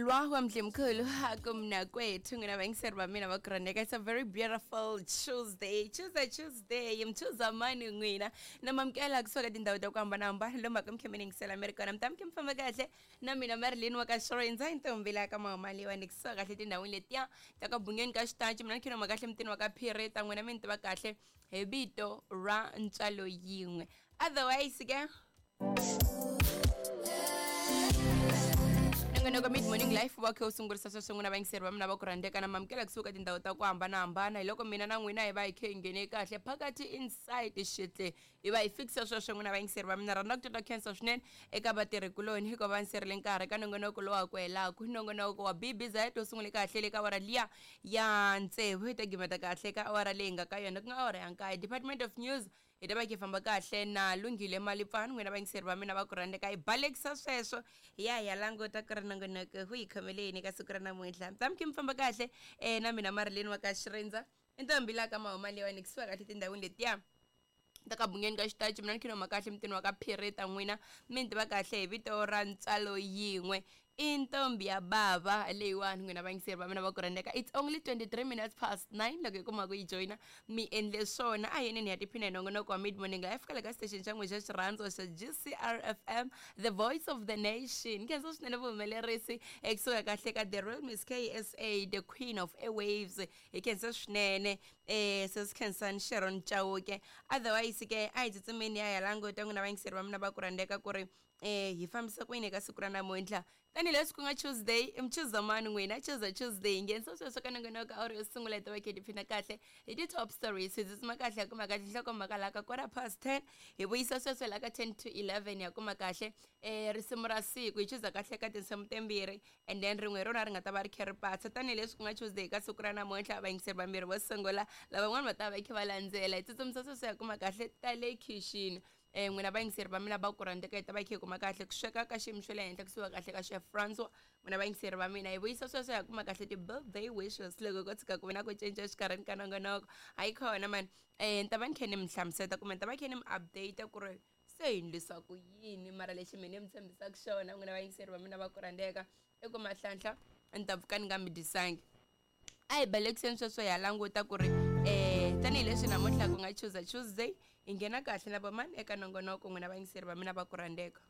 Lwa wa Mdlimkhulu kumnakwethu n'wina vayingiseri va mina va ku rhandzeka. It's a very beautiful Tuesday, Tuesday, Tuesday. Mchuza mani n'wina na mamukela kusuka tindhawu ta ku hambanahambana lomu ka mi kha mi yingisela mi ri kona. Mi ta mi kha mi famba kahle na mina Marilyn wa ka Xirindza ntombi la ka Mahumaliwa ni kusuka kahle tindhawini letiya ta ka Bungeni ka Xitachi. Mina ni khe ni huma kahle mutini wa ka Phiri ta n'wina mi ni tiva kahle hi vito ra ntswalo yin'we. Otherwise ke nongonoko Mid Morning Life wa khe wu sungurisa sweswo n'wina vayingiseri va mina va ku rhandzeka na mamukela kusuka tindhawu ta ku hambanahambana. Hi loko mina na n'wina hi va hi khe hi nghene kahle phakathi inside xitle hi va hi fikisa sweswo n'wina vayingiseri va mina. Rhandza ku titwa khensa swinene eka vatirhikuloni hikuva va nserile nkarhi ka nongonoko lowa ku helaku nongonoko wa BBZ wu sungule kahle le ka awara liya ya tsevu hi ta gimeta kahle ka awara leyi nga ka yona ku nga awara ya nkaye. Department of News hi ta va hi famba kahle na Lunghile Malipfani n'wina vayingiseri va mina va ku rhandzeka. Hi balekisa sweswo hi ya hi ya languta ku ri nongonoko wu hi khomele yini ka siku ra namuntlha. Mi ta mi khe mi famba kahle na mina Marilyn wa ka Xirindza i ntombi la ka Mahuma leyiwani kusuka kahle tindhawini letiya ta ka Bungeni ka Xitachi. Mina ni khe ni huma kahle mutini wa ka Phirita n'wina mi ni tiva kahle hi vito ra ntswalo yin'we i ntombi ya bava leyiwani n'wina vayingiseri va mina va ku rhandzeka. It's only 23 minutes past 9 loko hi kuma ku yi joyina mi endle swona. A yeneni ya tiphina hi nongonoko wa Mid Morning Life kwale ka station xa n'we xa xirhandzo xa GCR FM, the voice of the nation. Khensa swinene vuhumelerisi ekusuka kahle ka the real Miss KSA, the queen of airwaves. Hi khensa swinene sesi Khensani Sharon Chauke. Otherwise ke a hi tsutsumeni ya ya languta n'wina vayingiseri va mina va ku rhandzeka ku ri hi fambisa ku yini eka siku ra namuntlha tanihileswi ku nga Tuesday. Mchuzamani n'wina Tuesday, Tuesday hi nghenisa sweswo ka nongonoko awuri yo sungula hi ta va khe tiphina kahle hi ti-top stories. Hi tsutsuma kahle ya kuma kahle nhlokomhaka laha ka 10:15 hi vuyisa sweswo laha ka 10 to 11 ya kuma kahle risimu ra siku. Hi chuza kahle ka tinsimu timbirhi and then rin'we hi rona ri nga ta va ri khe ri patsa tanihileswi ku nga Tuesday ka siku ra namuntlha. Vayingiseri vambirhi vo sungula lavan'wana va ta va khe va landzela. Hi tsutsumisa sweswo ya kuma kahle ta le khixini n'wina vayingiseri va mina va ku rhandzeka. Hi ta va hi khe hi kuma kahle ku sweka ka xiyimo xa le henhla kusuka kahle ka chef Francois. N'wina vayingiseri va mina hi vuyisa sweswo ya kuma kahle ti-birthday wishes loko ko tshuka ku ve na ku cinca exikarhini ka nongonoko. Hayi khona mani ni ta va ni khe ni mi hlamuseta kumbe ni ta va khe ni mi update ku ri se hi ndlisa ku yini. Mara lexi mina ni mi tshembisaka xona n'wina vayingiseri va mina va ku rhandzeka i ku mahlanhla ni ta pfuka ni nga mi dyisangi. A hi balekiseni sweswo ya languta ku ri tanihileswi namuntlha ku nga Tuesday, Tuesday hi nghena kahle na vamani eka nongonoko n'wina vayingiseri va mina va ku rhandzeka.